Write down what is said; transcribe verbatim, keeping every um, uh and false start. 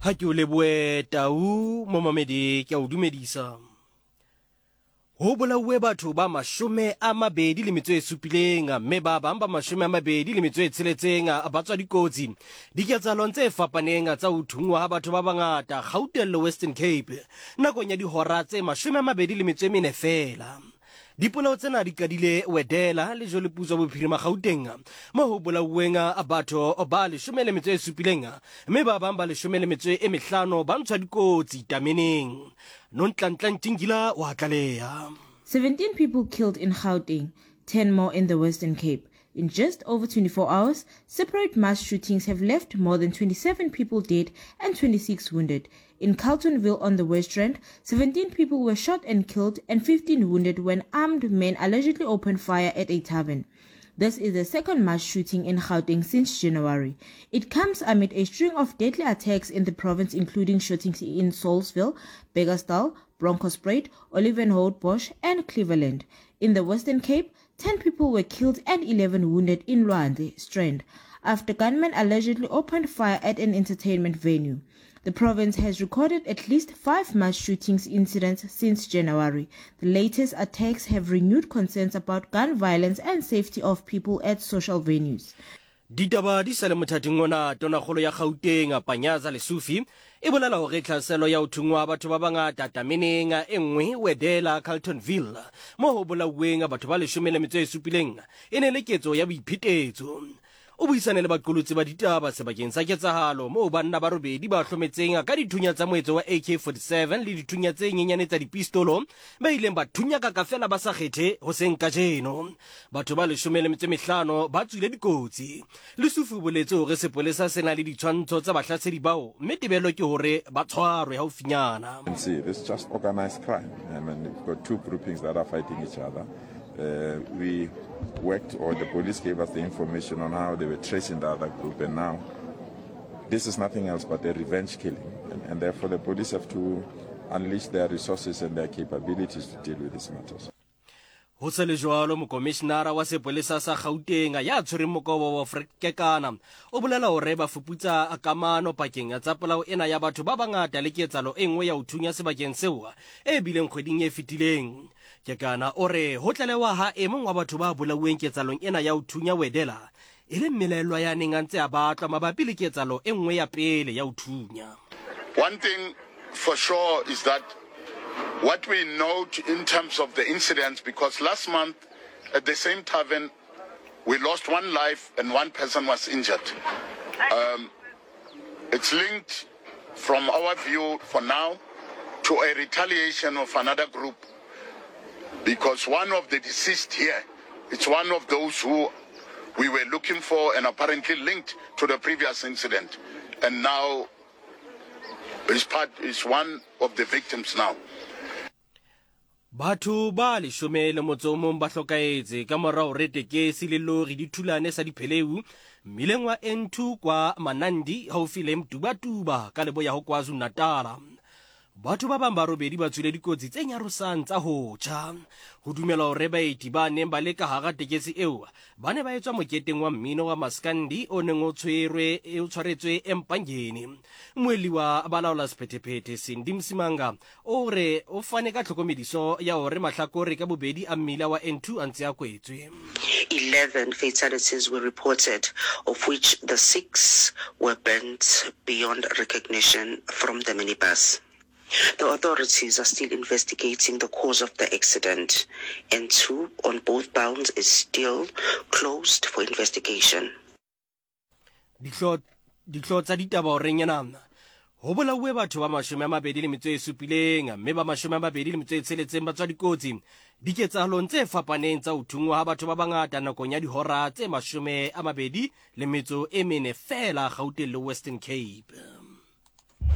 Ha ke o lebohe Tau momamedi, ke a o dumedisa. Ho bolauwe batho ba mashome a mabedi le metso e supileng mme ba bang ba mashome a mabedi le metso e tsheletseng ba tswa dikotsi diketsahalong tse fapaneng tsa ho thunngwa ha batho ba bangata Gauteng le Western Cape nakong ya dihora tse mashome a mabedi le metso e mene feela. Dipolao tsena di qadile Wedela le Joliputswa Bophirima Gauteng mo ho bolauweng batho ba leshome le metso e supileng mme ba bang ba leshome le metso e mehlano ba ntshwa dikotsi tameneng. Nonhlanhla Ntshingila wa tlaleha. seventeen people killed in Gauteng, ten more in the Western Cape. In just over twenty-four hours, separate mass shootings have left more than twenty-seven people dead and twenty-six wounded. In Carltonville on the West Rand, seventeen people were shot and killed and fifteen wounded when armed men allegedly opened fire at a tavern. This is the second mass shooting in Gauteng since January. It comes amid a string of deadly attacks in the province, including shootings in Saulsville, Bekkersdal, Bronkhorstspruit, Olievenhoutbosch and Cleveland. In the Western Cape, ten people were killed and eleven wounded in Lwandle Strand after gunmen allegedly opened fire at an entertainment venue. The province has recorded at least five mass shootings incidents since January. The latest attacks have renewed concerns about gun violence and safety of people at social venues. Ditaba di sa le mothating ona, Tonakgolo ya Gauteng Panyaza Lesufi e bolela hore tlhaselo ya ho thunngwa batho ba bangata tameneng e nngwe Wedela Carltonville mo ho bolauweng batho ba leshome le metso e supileng e ne le ketso ya boiphetetso. O buisane le baqolotsi ba ditaba sebakeng sa ketsahalo moo banna ba robedi ba hlometseng ka dithunya tsa moetso wa A K forty-seven le dithunya tse nyenyane tsa dipistolo ba ileng ba thunya ka fela ba sa kgethe ho seng kajeno. Batho ba leshome le metso e mehlano ba tswile dikotsi. Lesufi o boletse hore sepolesa se na le ditshwantsho tsa bahlasedi bao mme tebello ke hore ba tshwarwe haufinyana. See, this is just organized crime. I mean, we've got two groupings that are fighting each other. Uh, we worked, or the police gave us the information on how they were tracing the other group, and now this is nothing else but a revenge killing, and, and therefore the police have to unleash their resources and their capabilities to deal with these matters. Ho se le jwalo, mokomishinara wa sepolesa sa Gauteng ya tshwereng mokobo wa Fred Kekana o bolela hore ba fuputsa kamano pakeng tsa polao ena ya batho ba bangata le ketsahalo e nngwe ya ho thunya sebakeng seo e bileng kgweding e fetileng. Kekana o re ho tlalewa ha e mong wa batho ba bolauweng ketsahalong ena ya ho thunya Wedela e le mmelaellwa ya neng a ntse a batlwa mabapi le ketsahalo e nngwe ya pele ya ho thunya. One thing for sure is that what we note in terms of the incidents, because last month at the same tavern we lost one life and one person was injured. Um, it's linked from our view for now to a retaliation of another group, because one of the deceased here, it's one of those who we were looking for and apparently linked to the previous incident. And now his part is one of the victims now. Batho ba leshome le motso o mong ba hlokahetse ka mora hore tekesi le lori di thulane sa dipheleu mmileng wa N two kwa Manandi haufi le Mtubatuba ka leboya ho KwaZulu-Natal. Batho ba bang ba robedi ba tswile dikotsi tse nyarosang tsa ho tjha. Ho dumelwa hore baeti ba neng ba le ka hara tekesi eo ba ne ba etswa moketeng wa mmino wa Maskandi o neng o tshwerwe o tshwaretswe Empangeni. Mmuelli wa balaola sephethephethe Cindy Msimanga o re o fane ka tlhokomediso ya hore mahlakore ka bobedi a mmila wa N two a ntse a kwetswe. eleven fatalities were reported, of which the six were burnt beyond recognition from the minibus. The authorities are still investigating the cause of the accident. N two on both bounds is still closed for investigation. Dihlooho tsa ditaba horeng ena. Ho bolauwe batho ba mashome a mabedi le metso e supileng mme ba mashome a mabedi le metso e tsheletseng ba tswa dikotsi diketsahalong tse fapaneng tsa ho thunngwa ha batho ba bangata nakong ya dihora tse mashome a mabedi le metso e mene feela Gauteng le Western Cape.